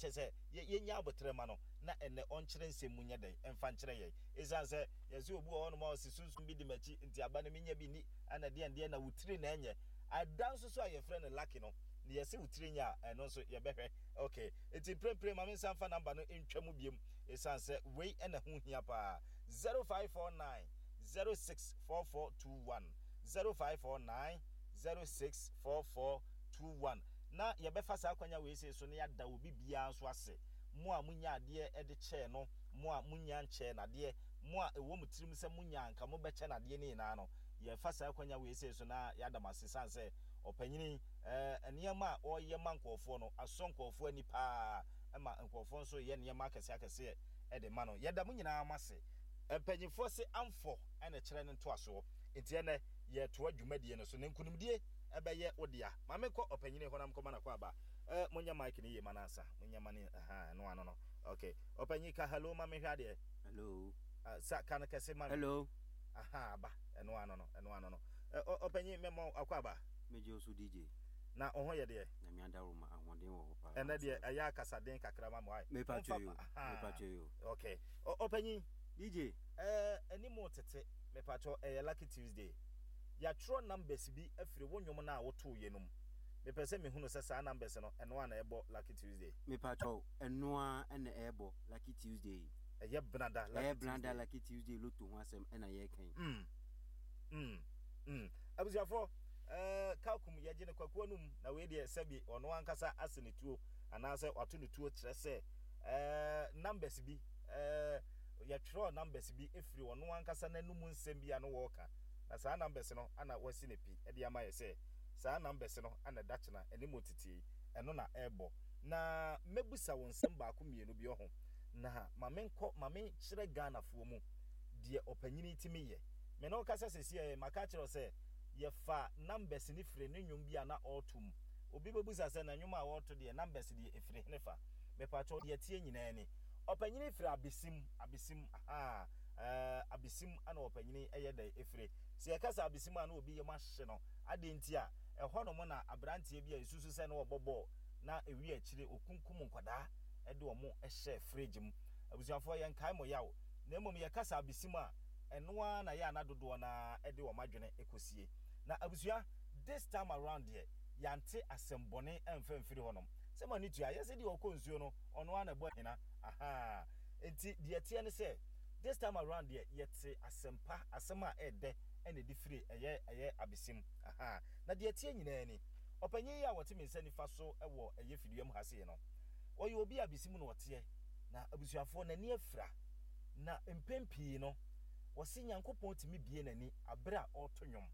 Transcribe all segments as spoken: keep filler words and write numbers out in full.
Kyɛ sɛ yɛnya abotrɛ ma no na ɛnɛ ɔnkyerɛ nsɛm mu nyɛ dɛn ɛmfa nkyerɛ yɛn. Ɛsiane sɛ yɛsɛ obi wɔ hɔnom a ɔse sunsum bi di m'akyi nti aba no menya bi ni ɛna deɛn deɛn na wo tiri na ɛnyɛ. Ada nso so a yɛfrɛ no Lucky no, ne yɛse wo tiri nyɛ a, ɛno nso yɛbɛhwɛ. Okay, nti mprempren ma me nsa mfa number no ntwa mu biom ɛsiane sɛ wei ɛna ho hia paa. zero five four nine zero six four four two one, zero five four nine zero six four four two one. Na yɛbɛfa saa kwanya wei sei so na yɛada obi biara nso ase. Mo a monya adeɛ de kyɛɛ no, mo a monya nkyɛɛ nadeɛ, mo a ɛwɔ mo tirim sɛ monya anka mobɛkyɛ nadeɛ no nyinaa no, yɛfa saa kwanya wei sei so na yɛada mo ase sane sɛ ɔpanyini eh, nneɛma a ɔreyɛ ma nkurɔfoɔ no asɔ nkurɔfoɔ ani paa ma nkurɔfoɔ nso yɛ nneɛma akɛseɛ akɛseɛ de ma no. Yɛda mo nyinaa mo ase. Mpanyinfoɔ se amfɔ na ɛkyerɛ ne ntoasoɔ, nti ɛnɛ yɛretoa dwumadie no so na nkunimdie ɛbɛyɛ wo dea. Ma menkɔ ɔpanyini hɔ na menkɔma no akwaaba. Eh, monyɛ mic no yie ma no ansa. Monyɛ ma no, aha, ɛno ano no. Okay. Ɔpanyin, ka hello ma menhwɛ adeɛ. Hello. Uh, sa, ka no kɛse ma me. Hello. Aha, aba. Ɛno ano no, ɛno ano no. Eh, ɔpanyin, mɛma akwaaba. Megye wo so, D J. Na wo ho yɛ deɛ? Nyame adaworoma, ahoɔden wɔ hɔ paa. Ɛnɛ deɛ ɛyɛ akasaden kakra ma mo ae. Mepatwo yo. Mepatwo yo. Okay. Ɔpanyin. D J. Eh, anim tete, mepatwo, ɛyɛ Lucky Tuesday. Yɛatwerɛ numbers bi afiri wo nnwom no a wotoo yɛ no mu. Mepɛ sɛ mehunu sɛ saa numbers no, ɛno a na ɛbɔ Lucky Tuesday. Mepatwo, ɛno a ɛna ɛbɔ Lucky Tuesday. Ɛyɛ Benada Lucky Ɛyɛ Benada Lucky Tuesday lotto ho asɛm ɛna yɛreka. Mm. Mm. Mm. Abusuafoɔ, ɛɛ Kalkum yɛgye no kwakuo no mu na wei deɛ sɛbi ɔno ankasa ase ne tuo anaasɛ wato ne tuo kyerɛ sɛ ɛɛ numbers bi, ɛɛ yɛtwerɛ numbers bi efiri ɔno ankasa n'anum nsɛm bi a no wɔɔka, na saa numbers no ana wasi ne pi ɛde ama yɛ sɛ saa numbers no ana ɛda kyena ɛne mu tetie ɛno na ɛrebɔ. Na mɛbusa wo nsɛm baako mmienu bi ɔho na ma menkɔ ma menkyerɛ Ghanafoɔ mu deɛ ɔpanyini timi yɛ. Me ne wo kasa sɛsi ɛ, maka kyerɛ sɛ yɛfa numbers ne firi ne nnwom bi a na ɔreto mu. Obi bɛbusa sɛ na nnwom a wɔreto deɛ, numbers deɛ ɛfiri hene fa? Mepatwɛ, deɛ tie nyinaa ni, ɔpanyini firi Abesim. Abesim aha, ɛɛ Abesim ana ɔpanyini ɛyɛ dɛ ɛfiri. Sɛ yɛka sɛ Abesim a, na obi yɛ mo ahye no adeɛ nti a ɛhɔ nom na aberanteɛ bi a ɛsusu sɛ na ɔbɔ bɔɔl na ewi akyire okunkum nkwadaa ɛde wɔn hyɛ fridge mu. Abusuafoɔ, yɛnkae mo yaw, na mmom yɛka sɛ Abesim a, ɛno ara na yɛ ana dodoɔ na ɛde wɔn adwene ɛkɔsie. Na abusua, this time around deɛ, yɛante asɛm bɔne ɛmfa mfiri hɔnom sɛ mo ani tua yɛsɛ deɛ ɔkɔ nsuo no, ɔno ara na ɛbɔ ahina aha. Nti deɛ teɛ ne sɛ this time around deɛ, yɛte asɛmpa, asɛm a ɛɛdɛ ɛna ɛde firi ɛyɛ ɛyɛ Abesim aha. Na deɛ teɛ nyinaa ni, ɔpanyin yi a wɔte me nsa nifa so ɛwɔ ɛyɛ fidua mu ha sei no, ɔyɛ obi a Abesim na ɔteɛ. Na abusuafoɔ, n'ani afira, na mpɛn pii no wɔsi Nyankopɔn tumi bie n'ani abere a ɔreto nnwom.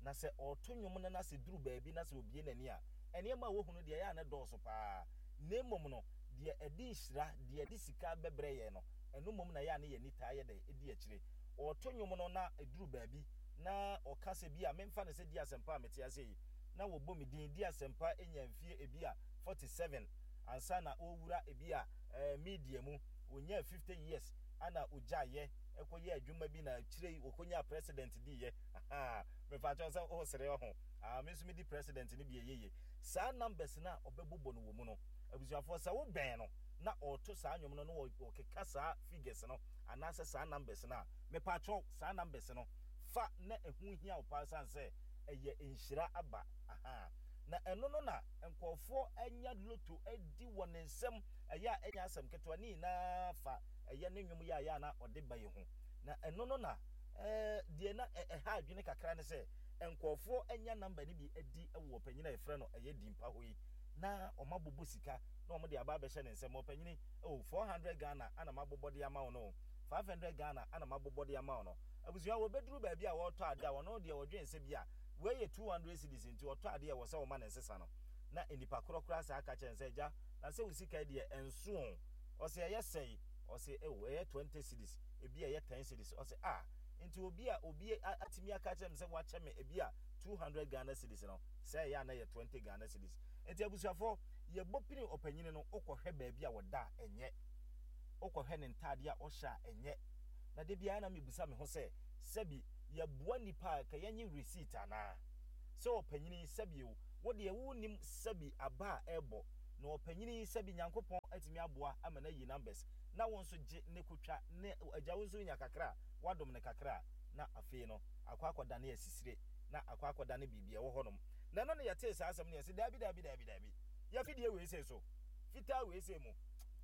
Na sɛ ɔreto nnwom no na sɛ duru baabi na sɛ obie n'ani a, nneɛma a wɔhu no deɛ, ɛyɛ a ne dɔɔso paa, na mmom no deɛ ɛde nhyira, deɛ ɛde sika bɛbrɛ yɛn no, ɛno mmom na ɛyɛ a ne yɛn ani taa yɛ dɛ ɛdi akyire. Ɔreto nnwom no na ɛduru baabi na ɔka sɛ bi a memfa no sɛ di asɛmpa a mete ase yi na wɔbɔ me din di asɛmpa nya mfie ebi a forty-seven ansa na ɔrewura ebi a ɛɛ media mu, wɔnya fifty years ana ogyaeɛ ɛkɔyɛ adwuma bi, na akyire yi wɔkɔnya president diiɛ. Mefa kyɛw sɛ ɔresere ɔho ah, me nso medi president no bi ɛyɛ yie. Saa numbers no a ɔbɛbobɔ no wɔ mu no, abusuafoɔ, sɛ wobɛn no na ɔreto saa nnwom no na ɔkeka saa figures no anaasɛ saa numbers no a, mepaakyɛw, saa numbers no fa na ɛho hia wo paa san sɛ ɛyɛ nhyira aba aha. Na ɛno no na nkurɔfoɔ anya lotto adi wɔ ne nsam. Ɛyɛ a ɛnyɛ asɛm ketewa ne nyinaa fa ɛyɛ ne nnwom yɛ a yɛ a na ɔde ba yi ho. Na ɛno no na ɛɛ deɛ na ɛha adwene kakra ne sɛ nkurɔfoɔ anya number no bi adi wɔ ɔpanyin a yɛfrɛ no ɛyɛ Dimpa hɔ yi na wɔn abobɔ sika na wɔn de aba abɛhyɛ ne nsam. Ɔpanyin, oh, four hundred Ghana ana ma abobɔ de ama wo no, five hundred Ghana ana ma abobɔ de ama wo no. Abusua, wɔbɛduru baabi a wɔretɔ adeɛ a, wɔn deɛ wɔdwen sɛ bi a wei yɛ two hundred cedis nti ɔtɔ adeɛ a ɛwɔ sɛ wɔma ne nsesa no, na nipa korɔ koraa saa aka kyɛn sɛ, "Agya, na sɛ wo sika yi deɛ ɛnso o." Ɔsɛ ɛyɛ sɛe, ɔsɛ ɛwɔ ɛyɛ twenty cedis, ebi a ɛyɛ ten cedis. Ɔsɛ ah, nti obi a obi atumi aka kyerɛ me sɛ wakyɛ me ebi a two hundred Ghana cedis no, sɛ ɛyɛ a na yɛ twenty Ghana cedis. Nti abusuafoɔ, yɛbɔ pini ɔpanyini no, wokɔhwɛ baabi a wɔda a ɛnyɛ, wokɔhwɛ ne ntaadeɛ a ɔhyɛ a ɛnyɛ. Na de biara na mebusa me ho sɛ, sɛbi yɛboa nipa a ka yɛnye receipt anaa? Sɛ ɔpanyini, sɛbi o, wo deɛ wonim sɛbi aba a ɛrebɔ Na ɔpanyini yi, sɛbi, Nyankopɔn atumi aboa ama no ayi numbers na wo nso gye ne kotwa ne agya, wo nso nya kakra a wadom ne kakra a, na afei no akɔ akɔdane asisire na akɔ akɔdane biribi a ɛwɔ hɔnom. Na ɛno ne yɛtee saa asɛm no, yɛsɛ daabi, daabi, daabi, daabi, yɛfidie wei sei so fitaa wei sei mu,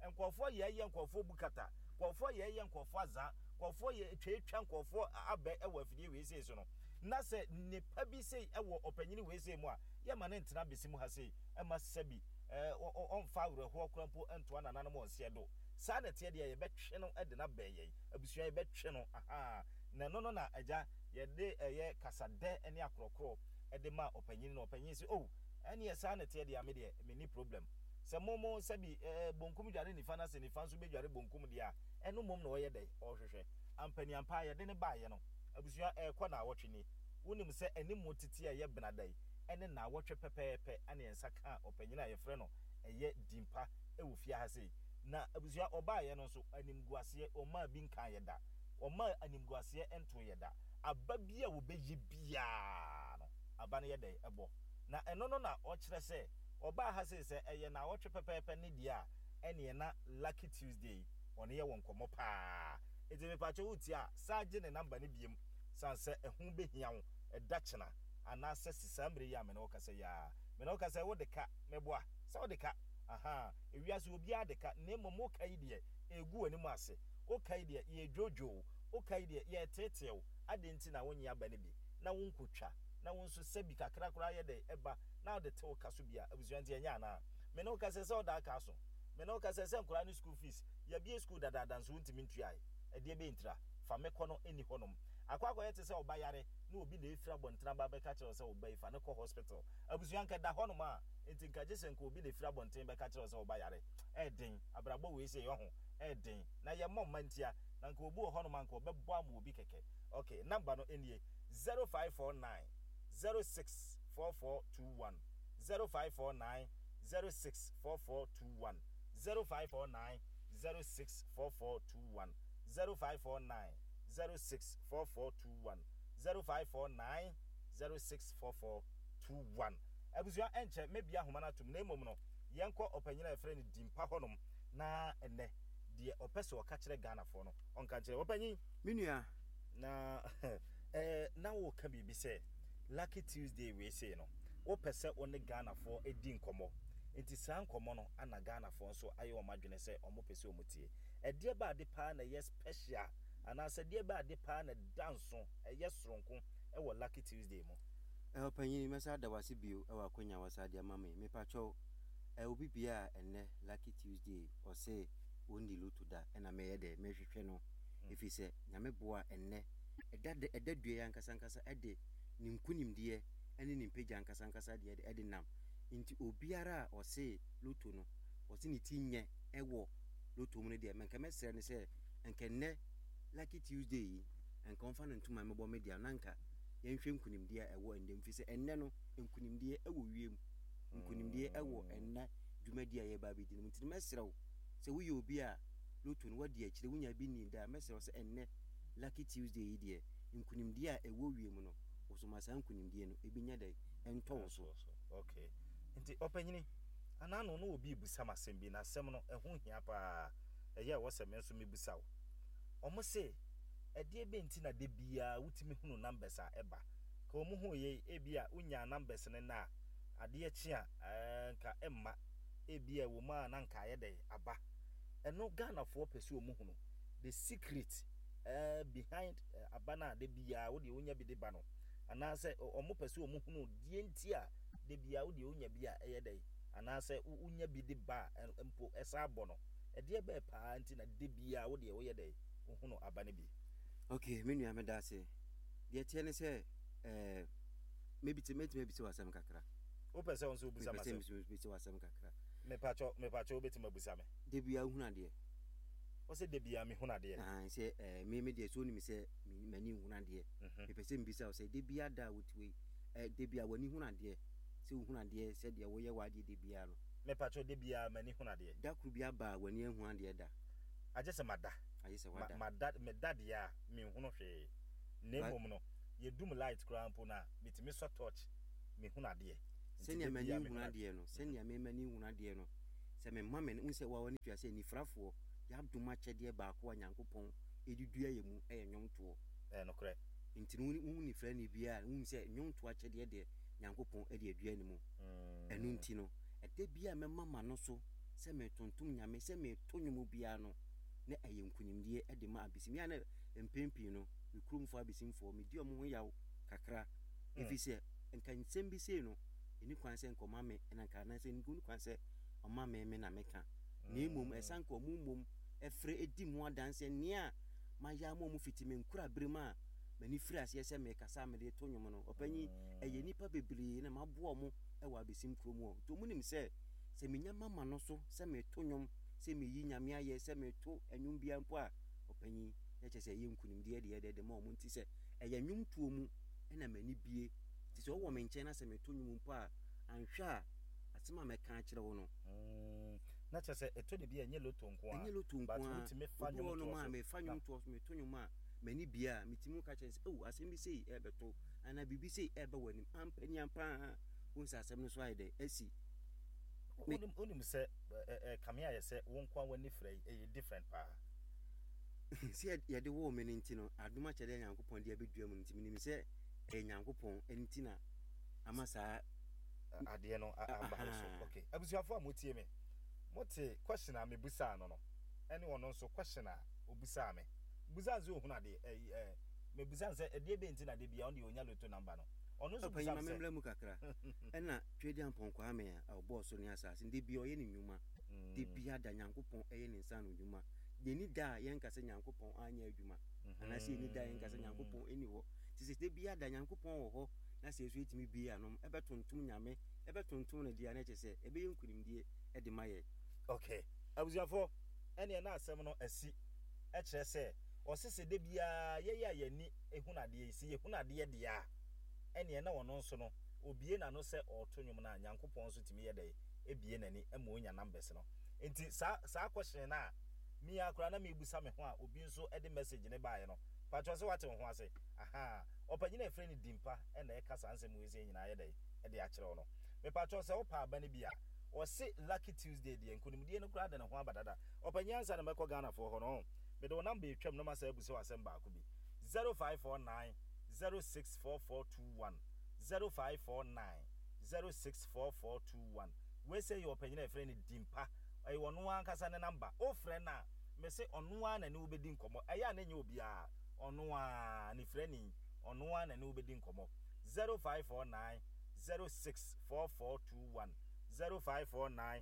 nkɔɔfoɔ yɛyɛ nkɔɔfoɔ bukata, nkɔɔfoɔ yɛyɛ nkɔɔfoɔ aza, nkɔɔfoɔ yɛ twatwa nkɔɔfoɔ abɛ ɛwɔ afidie wei sei so no. Na sɛ nipa bi sei ɛwɔ ɔpanyini wei sei mu a, yɛma ne ntena besi mu ha sei ɛma sɛbi ɛɛ ɔmfa awerɛhoɔ kora mpo ntoa nananom ɔnseɛ do. Saa na ɛteɛ deɛ, yɛbɛtwe no de no abɛn yɛn abusua, yɛbɛtwe no aha. Na ɛno no na agya yɛde ɛyɛ kasadɛ ne akorɔkorɔ ɛde ma ɔpanyin no. Ɔpanyin sɛ, oh, ɛneɛ saa na ɛteɛ deɛ, ame deɛ menni problem sɛ mo mo sɛbi ɛɛ bonkum dware nifa na sɛ nifa nso bɛdware bonkum deɛ a, ɛno mmom na ɔyɛ dɛ ɔrehwehwɛ ampaniampa. Yɛde ne baayɛ no, abusua, ɛɛkɔ na awɔtwe ni. Wonim sɛ anim tete a ɛyɛ benada yi ɛne na awɔtwe pɛpɛɛpɛ ɛne yɛn nsa ka ɔpanyin a yɛfrɛ no ɛyɛ Dimpa ɛwɔ fie ha sei. Na abusua, ɔbaayɛ no nso animguaseɛ ɔmaa bi nka yɛ da, ɔmaa animguaseɛ nto yɛ da. Aba bi a wɔbɛyi biara no, aba no yɛ dɛ ɛbɔ. Na ɛno no na ɔkyerɛ sɛ ɔbaa ha sei sɛ ɛyɛ na awɔtwe pɛpɛɛpɛ ne deɛ a, ɛneɛ na Lucky Tuesday ɔne yɛ wɔ nkɔmmɔ paa. Nti mepakyɛ, wotie a, saa gye ne number no biem san sɛ ɛho bɛhia wo ɛda kyena anaasɛ si saa mmerɛ yi a mene wo kasa yi a, mene wo kasa yi, wode ka meboa sɛ wode ka aha. Ewiase obiara de ka, na mmom woka yi deɛ ɛgu w'anim ase, woka yi deɛ yɛdwodwo, woka yi deɛ yɛteetew ade. Nti na wonye aba no bi na wonkotwa na wo nso sɛbi kakra koraa yɛ dɛ ɛba na wode te wo ka so bi a, abusua, nti ɛnyɛ anaa mene wo kasa sɛ ɔda aka so, mene wo kasa sɛ nkwaraa ne school fees, yɛbie school dadaada nso wontumi ntuae. Ɛdeɛ bɛyɛ ntira fa me kɔ no ɛni hɔnom akɔ akɔyɛ te sɛ ɔba yare na obi na efiri abɔntene aba bɛka kyerɛ wo sɛ ɔba yi fa ne kɔ hospital. Abusua, nka da hɔnom a, nti nka gye sɛ nka obi na efiri abɔnten bɛka kyerɛ wo sɛ ɔba yare. Ɛɛden abrabɔ wei sɛ yɛho ɛɛden na yɛmmɔ mma ntia na nka obi wɔ hɔnom a nka ɔbɛbɔ ama obi kɛkɛ. Okay, number no nie: zero five four nine zero six four four two one, zero five four nine zero six four four two one, zero five four nine zero six four four two one, zero five four nine zero six four four two one, zero five four nine zero six four four two one. Abusua, ɛnkyɛ mɛbia ahoma no atom, na mmom no yɛnkɔ ɔpanyin a yɛfrɛ no Dimpa hɔnom na ɛnɛ deɛ ɔpɛ sɛ ɔka kyerɛ Ghanafoɔ no, ɔnka nkyerɛ ɔpanyin. Me nua. Na ɛɛ na wɔka biribi sɛ Lucky Tuesday wei sei no, wopɛ sɛ wo ne Ghanafoɔ di nkɔmmɔ, nti saa nkɔmmɔ no ana Ghanafoɔ nso ayɛ wɔn adwene sɛ wɔn pɛ sɛ wɔn tie. Ɛdeɛ ba ade paa na ɛyɛ special anaasɛ deɛ ba ade paa na da nso ɛyɛ soronko ɛwɔ Lucky Tuesday mu? Ɛwɔ panyin, mɛsa da wase bio ɛwɔ akonnwa wasa de ama me. Mepakyɛw, ɛ obi bia a ɛnɛ Lucky Tuesday ɔse ɔnni lotto da, ɛna mɛyɛ dɛ mɛhwehwɛ no, ɛfiri sɛ Nyame boa, ɛnnɛ ɛda ɛda dua yi ankasa ankasa ɛde ne nkonimdeɛ ɛne ne mpagya ankasa ankasa deɛ ɛde nam. Nti obiara a ɔse lotto no ɔse ne ti nyɛ ɛwɔ lotto mu no deɛ, mɛnka mɛsrɛ no sɛ nka nnɛ Lucky Tuesday yi nka ɔmfa no ntoma mmɛbɔ me deɛ, na nka yɛnhwɛ nkonimdeɛ a ɛwɔ ɛnnɛ mu, firi sɛ ɛnnɛ no nkonimdeɛ ɛwɔ wiem, nkonimdeɛ ɛwɔ ɛnnɛ dwumadi a yɛba abɛdi no mu. Nti mɛsrɛ wo sɛ woyɛ obi a lotto no wadi akyire, wonya bi ni da, mɛsrɛ wo sɛ ɛnnɛ Lucky Tuesday yi deɛ, nkonimdeɛ a ɛwɔ wiem no, wosoma saa nkonimdeɛ no ebi nya dɛ ɛntɔ wo so. Okay, nti ɔpanyini anaa no no obi busa m asɛm bi, na asɛm no ɛho hia paa, ɛyɛ ɛwɔ sɛ me nso mebusa wo. Ɔmo se ɛdeɛ bɛ nti na de biara wotumi hunu numbers a ɛba ka ɔmo hu yɛ, ebi a wonya numbers no na adeɛ kye a ɛɛ nka ɛmma, ebi a ɛwɔ mu a na nka ayɛ dɛ aba. Ɛno Ghanafoɔ pɛ sɛ ɔmo hunu the secret ɛɛ behind uh, aba no a de biara wodeɛ wonya bi de ba no, anaasɛ ɔmo pɛ sɛ ɔmo hunu deɛ nti a de biara wodeɛ wonya bi a ɛyɛ dɛ, anaasɛ wonya bi de ba a mpo ɛsa abɔ no. Ɛdeɛ bɛɛ paa nti na de biara wodeɛ woyɛ dɛ wohunu aba no bi? Okay, me nua, meda ase. Deɛ teɛ ne sɛ ɛɛ mebiti mɛtumi abisa w'asɛm kakra? Wopɛ sɛ wo nso wobisa mepɛ sɛ m'asɛm? Mebisa w'asɛm kakra. Mepakyɛ, mepakyɛ, wobɛtumi abusa me. Da biara wohunu adeɛ? Wo sɛ da biara mehunu adeɛ? Ah, sɛ ɛɛ me me deɛ sɛ onim sɛ m'ani nhunu adeɛ. Mhm. Mepɛ sɛ mbisa wo sɛ da biara da a wote wei, ɛɛ da biara w'ani hunu adeɛ, sɛ wohunu adeɛ sɛdeɛ woyɛ w'adeɛ da biara no? Mepakyɛ, da biara m'ani hunu adeɛ. Da koro bi aba a w'ani ahu adeɛ da? Agye sɛ mada. Agye sɛ Ma- wada. Mada, meda deɛ a menhunu hwee, na Ba- mmom no yɛdum light koraa mpo no a, metumi sɔ torch mehunu adeɛ. Nti Sɛnea da m'ani biara nhunu mehunu adeɛ no, sɛnea me m'ani nhunu adeɛ no, Sɛ mema me wohu sɛ wawa ne tua sɛ nifrafoɔ yɛadom akyɛdeɛ baako a Nyankopɔn ɛde dua yɛ mu ɛyɛ nnwomtoɔ. Ɛyɛ nokorɛ. Nti no wohu nifrani biara wohu sɛ nnwomtoɔ akyɛdeɛ deɛ Nyankopɔn ɛde adua ne mu. Ɛno nti no ɛda bi a mɛma m'ano so sɛ metontom Nyame, sɛ meto nnwom biara no, na ɛyɛ nkonimdie ɛde ma Abesim. Yɛ a na mpɛn pii no me kuromfoɔ Abesimfoɔ medi ɔmo ho yaw kakra, ɛfiri sɛ nka nsɛm bi sei no ɛni kwan sɛ nka ɔma me ɛna nka anaasɛ ɛni kwan sɛ ɔma me me na meka, na mmom ɛsan nka ɔmo mmom ɛfrɛ ɛdi mu adanseɛ nea mayɛ ama ɔmo fiti me nkura bere mu a m'ani firi aseɛ sɛ mekasa a mede to nnwom no. Ɔpanyin, ɛyɛ nnipa bebree na maboa ɔmo ɛwɔ Abesim kurom hɔ, nti ɔmo nim sɛ sɛ menya mama no so sɛ meto nnwom, sɛ meyi Nyame ayɛ, sɛ meto nnwom biara mpo a, ɔpanyin, na kyerɛ sɛ ɛyɛ nkonimdie deɛ deɛ de ma ɔmo. Nti sɛ ɛyɛ nnwomtoɔ mu ɛna m'ani bie, nti sɛ ɔwɔ me nkyɛn na sɛ meto nnwom mpo a, anhwɛ a asɛm a mɛka akyerɛ wo no. Mm, na kyerɛ sɛ ɛtɔ de bi a ɛnyɛ loto nko a, ɛnyɛ loto nko but a, wotumi fa obi wɔ nnwomtoɔ nom a so mefa na nnwomtoɔ so meto nnwom a m'ani bie a, metumi ka kyerɛ sɛ oh, asɛm bi sei ɛbɛto anaa biribi sei ɛbɛ w'anim ampa ni ampa a, wohu sɛ asɛm no so ayɛ dɛ asi. Wonim wonim sɛ ɛ kame ayɛ sɛ wo nko a w'ani frɛ yi ɛyɛ different paa. Sɛ yɛde woo me no nti no, adom akyɛdeɛ a Nyankopɔn de abɛdua mu no nti, menim sɛ ɛyɛ Nyankopɔn nti na ama saa adeɛ no aba wo so. Okay, abusuafoɔ a motie me, mote question a mebusaa no no ɛne ɔno nso question a obusaa me. Busaa sɛ ohunu adeɛ ɛyi ɛ mebusaa sɛ ɛdeɛ bɛn nti na de bia ɔno deɛ onya loto number no, ɔno nso ɔpanyin busaa ma me sɛ memmra mu kakra. Ɛna Tweaduampɔn Kwame a ɔbɔɔ soro ne asase de bia ɔyɛ ne nnwuma de bia da Nyankopɔn ɛyɛ ne nsa ano nnwuma. Yɛni da a yɛnka sɛ Nyankopɔn anyɛ adwuma, anaasɛ yɛni da a yɛnka sɛ Nyankopɔn ɛni hɔ. Nti sɛ de bia da Nyankopɔn wɔ hɔ na sɛ yɛso yɛtumi bie anom ɛbɛtontom Nyame, ɛbɛtontom no deɛ a, na kyerɛ sɛ ɛbɛyɛ nkonimdie ɛde ma yɛ. Okay, abusuafoɔ, ɛneɛ na asɛm no asi. Ɛkyerɛ sɛ ɔse sɛ da biara yɛyɛ a yɛni ehunu adeɛ yi, sɛ yɛhunu adeɛ deɛ a, ɛneɛ na ɔno nso no obie n'ano sɛ ɔreto nnwom no a, Nyankopɔn nso tumi yɛ dɛ ebie n'ani ma onya numbers no. Nti saa saa question no a me ara koraa na mebusa me ho a obi nso de message ne baeɛ no, patwɛ sɛ wate wo ho ase. Aha, ɔpanyin a ɛfrɛ no Dimpa ɛna ɛka saa nsɛm wei sɛ nyinaa yɛ dɛ ɛde akyerɛ wo no. Mepatwɛ sɛ wopɛ aba no bi a, ɔse Lucky Tuesday deɛ nkonimdie no koraa de ne ho aba dada. Ɔpanyin, ansa na mɛkɔ Ghanafoɔ hɔ no, mede wo number etwam na masa abusa wo asɛm baako bi. zero five four nine zero six four four two one, zero five four nine zero six four four two one. Wei sɛ yɛ ɔpanyin a yɛfrɛ no Dimpa, ɛyɛ ɔno ankasa ne number. Wofrɛ no a, mese ɔno ara na ne wobɛdi nkɔmmɔ. Ɛyɛ a na ɛnyɛ obiara, ɔno ara ne frɛni, ɔno ara na ne wobɛdi nkɔmmɔ. zero five four nine zero six four four two one, zero five four nine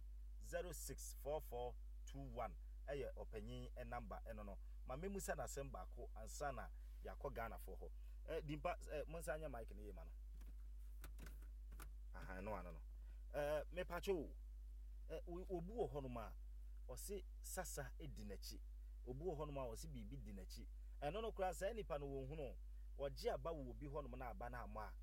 zero six four four two one ɛyɛ ɔpanyin number. Ɛno no ma memusa n'asɛm baako ansa na yɛakɔ Ghanafoɔ hɔ. ɛ Dimpa, ɛ mo nsa nyɛ mic no yie ma no. Aha, ɛno ano no ɛ mepatwo o, ɛ obi wɔ hɔnom a ɔse sasa di n'akyi, obi wɔ hɔnom a ɔse biribi di n'akyi. Ɛno no koraa, saa nipa no wɔn hunu wɔgye aba wɔ obi hɔnom na aba no amɔ a,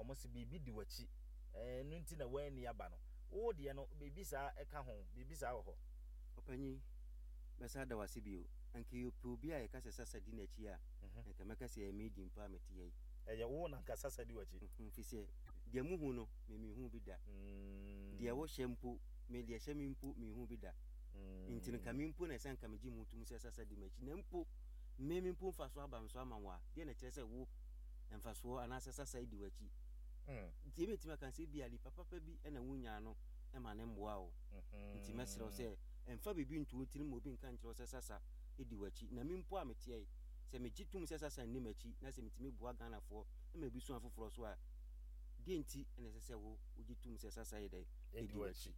ɔmo se biribi di w'akyi, ɛno nti na wɔanni aba no. Wo deɛ no, biribi saa ɛka ho, biribi saa wɔ hɔ? Ɔpanyin, mɛsa da wase bio. Anka yɛpɛ obi a yɛka sɛ sasa di n'akyi a, anka mɛka sɛ ɛyɛ me Dimpa a mete ha yi. Ɛyɛ wo na nka sasa di w'akyi? Mfi sɛ deɛ muhu no, me mehu bi da. Deɛ wohyɛ mpo, me deɛ hyɛ me mpo mehu bi da. Nti no nka me mpo na ɛsɛ nka megye mu tom sɛ sasa di m'akyi, na mpo me me mpo mfasoɔ aba me so ama wo a, deɛ na kyerɛ sɛ wo mfasoɔ anaasɛ sasa di w'akyi? Nti yɛbɛtumi aka sɛ ebia nipa papa bi na wonyaa no ma ne mmoa wo. Nti mɛsrɛ wo sɛ ɛmfa biribi nto wo tirim ma obi nka nkyerɛ wo sɛ sasa di w'akyi. Na me mpo a meteɛ yi, sɛ megye tom sɛ sasa nni m'akyi na sɛ metumi boa Ghanafoɔ ma ebi so afoforɔ so a, deɛ nti na ɛsɛ sɛ wo wogye tom sɛ sasa yɛ dɛ ɛdi w'akyi?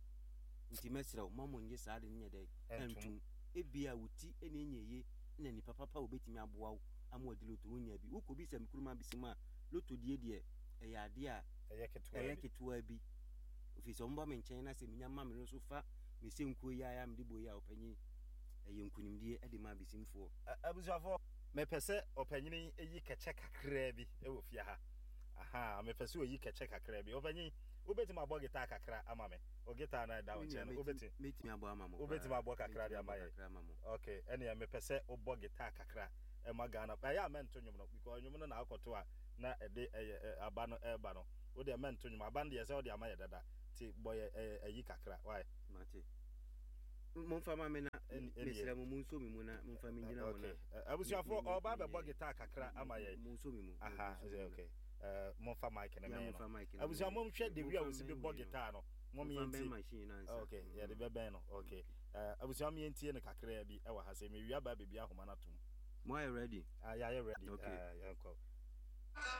Nti mɛsrɛ wo, ma mo nye saa de no nyɛ dɛ ɛntom. Ebia wo ti na ɛnyɛ yie na nipa papa a obɛtumi aboa wo ama wadi loto wonya bi. Wokɔ bi sɛ mekurom abisi mu a, loto die deɛ ɛyɛ adeɛ a ɛyɛ ketewa bi, ɛfiri sɛ ɔmoba me nkyɛn na sɛ menya ma me no so fa me sɛ nkuo yi a mede bɔ yi a, ɔpanyin, ɛyɛ nkonimdie de ma abisimfoɔ. Abusuafoɔ, mepɛ sɛ ɔpanyini yi kɛkyɛ kakraa bi wɔ fie ha. Aha, mepɛ sɛ ɔyi kɛkyɛ kakraa bi. Ɔpanyin, wobɛtumi abɔ guitar kakra ama me? O guitar na ɛda wo nkyɛn no, wobɛtumi mɛtumi abɔ ama mo. Wobɛtumi abɔ kakra de ama yɛ? Okay, ɛneɛ mepɛ sɛ wobɔ guitar kakra ɛma Ghana. Ɛyɛ a mɛnto nnwom no, because nnwom no na akɔto a na ɛde ɛyɛ aba no ɛreba no. Wo deɛ mɛnto nnwom, aba no deɛ sɛ wode ama yɛ dada, nti bɔ yɛ ɛyi kakra, why? Mate. Momfa ma me na mesrɛ mo, monso me mu na momfa me ngyina hɔ na abusuafoɔ, ɔba bɛbɔ guitar kakra ama yɛn. Monso me mu. Aha, okay, momfa mic no mɛn no. Abusua, momhwɛ de wi a wɔsi bi bɔ guitar no, mom yɛntie. Okay, yɛde bɛbɛn no. Okay, abusua, mom yɛntie no kakra bi ɛwɔ ha sɛ mewia ba baabi ahoma no atom. Mo ayɛ ready? Ah, yɛayɛ ready. Okay, yɛnkɔ.